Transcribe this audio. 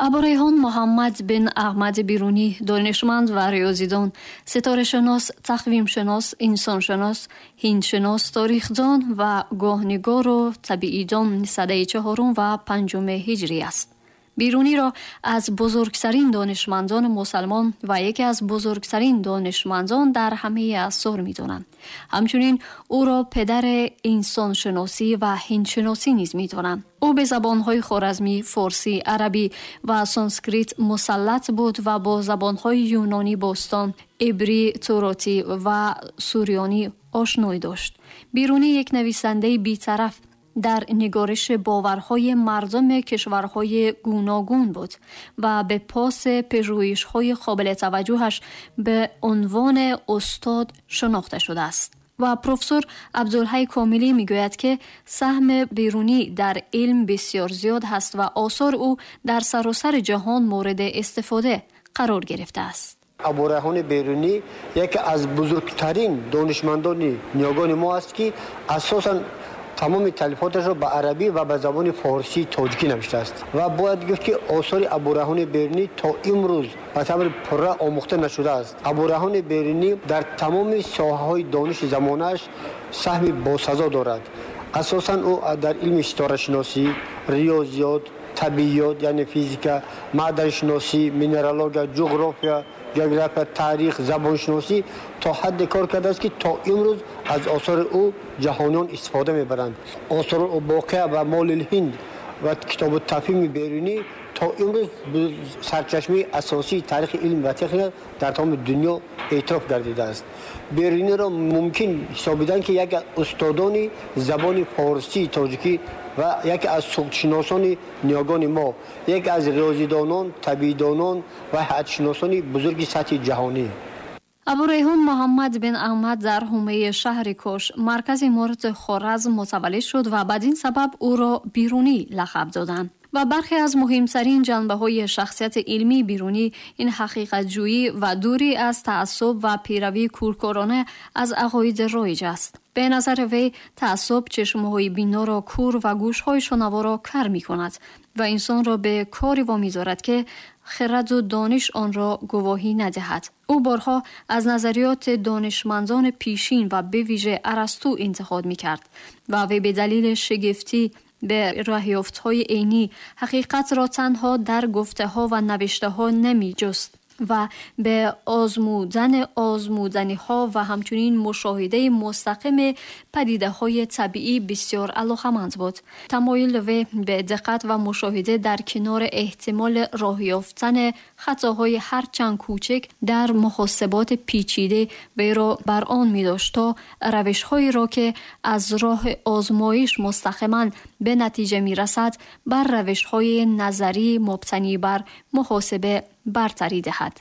Абурайҳон Муҳаммад бин Аҳмад Берунӣ донишманд ва риёзидон, ситорашинос, тақвимшинос, инсоншинос, ҳиндшинос, тарихдон ва гоҳнигору табиидон садаи чаҳорум ва панҷуми ҳиҷрӣ аст. Беруниро аз бузургтарин донишмандони мусалмон ва яке аз бузургтарин донишмандон дар ҳамаи аср медонанд. Ҳамчунин ӯро падари инсоншиносӣ ва ҳиндшиносӣ низ медонанд. Ӯ ба забонҳои хоразмӣ, форсӣ, арабӣ ва санскрит мусаллат буд ва бо забонҳои юнонӣ бостон, ибрӣ, туротӣ ва сурёнӣ ошноӣ дошт. Берунӣ як нависандаи бетараф дар нигориши боварҳои мардуми кишварҳои гуногун буд ва ба паси пажӯҳишҳои қобили таваҷҷӯҳаш ба унвони устод шинохта шудааст. Ва профессор Абдулҳай Комилӣ мегӯяд, ки саҳми Берунӣ дар илм бисёр зиёд ҳаст ва осори ӯ дар саросари ҷаҳон мавриди истифода қарор гирифтааст. Абурайҳони Берунӣ яке аз бузургтарин донишмандони ниёгони мо аст, ки асосан тамоми таълифоташро ба арабӣ ва ба забони форсии тоҷикӣ навиштааст. Ва бояд гуфт, ки осори Абурайҳони Берунӣ то имрӯз ба таври пурра омӯхта нашудааст. Абурайҳони Берунӣ дар тамоми соҳаҳои дониши замонааш саҳми босазо дорад. Асосан ӯ дар илми ситорашиносӣ, риёзиёт, табиёт, яъне физика, маъданшиносӣ, минералогия, ҷуғрофия, география, таърих, забоншиносӣ то ҳадде кор кардааст, ки то имрӯз аз осори ӯ ҷаҳониён истифода мебаранд. Осори Боқия ва Молил Ҳинд ва Китобу Тафҳими Берунӣ то имрӯз сарчашмаи асосии таърихи илм ва техника дар тамоми дунё эътироф гардидааст. Беруниро мумкин ҳисобиданд, ки яке аз устодони забони форсии тоҷикӣ ва яке аз суғдшиносони ниёгони мо, яке аз риёзидонон, табиидонон ва ҳайатшиносони бузурги сатҳи ҷаҳонӣ. Абурайҳон Муҳаммад бин Аҳмад дар ҳумаи шаҳри Кош, маркази иморати Хоразм мутаваллид шуд ва бадин сабаб ӯро Берунӣ лақаб доданд. Ва бархе аз муҳимтарин ҷанбаҳои шахсияти илмии Берунӣ ин ҳақиқатҷӯӣ ва дурӣ аз таассуб ва пайравии кӯркӯрона аз ақоиди роиҷ аст. Ба назари вай таассуб чашмҳои биноро кӯр ва гӯшҳои шунаворо кар мекунад ва инсонро ба коре вомедорад, ки хираду дониш онро гувоҳӣ надиҳад. Ӯ борҳо аз назариёти донишмандони пешин ва бевижа Арасту интиқод мекард ва вай ба далели шигифтӣ ба роҳёфтҳои عینی ҳақиқатро танҳо дар гуфтаҳо ва навиштаҳо намеҷуст ва ба озмудани озмуданиҳо ва ҳамчунин мушоҳидаи мустақими падидаҳои табиӣ бисёр алоқаманд буд. Тамоюли вай ба диққат ва мушоҳида дар канори эҳтимоли роҳ ёфтани хатоҳои ҳарчанд кӯчак дар муҳосиботи печида вайро бар он медошт, то равишҳоеро ки аз роҳи озмоиш мустақиман ба натиҷа мерасад, бар равишҳои назарӣ мабтанӣ бар муҳосиба бартарӣ диҳад.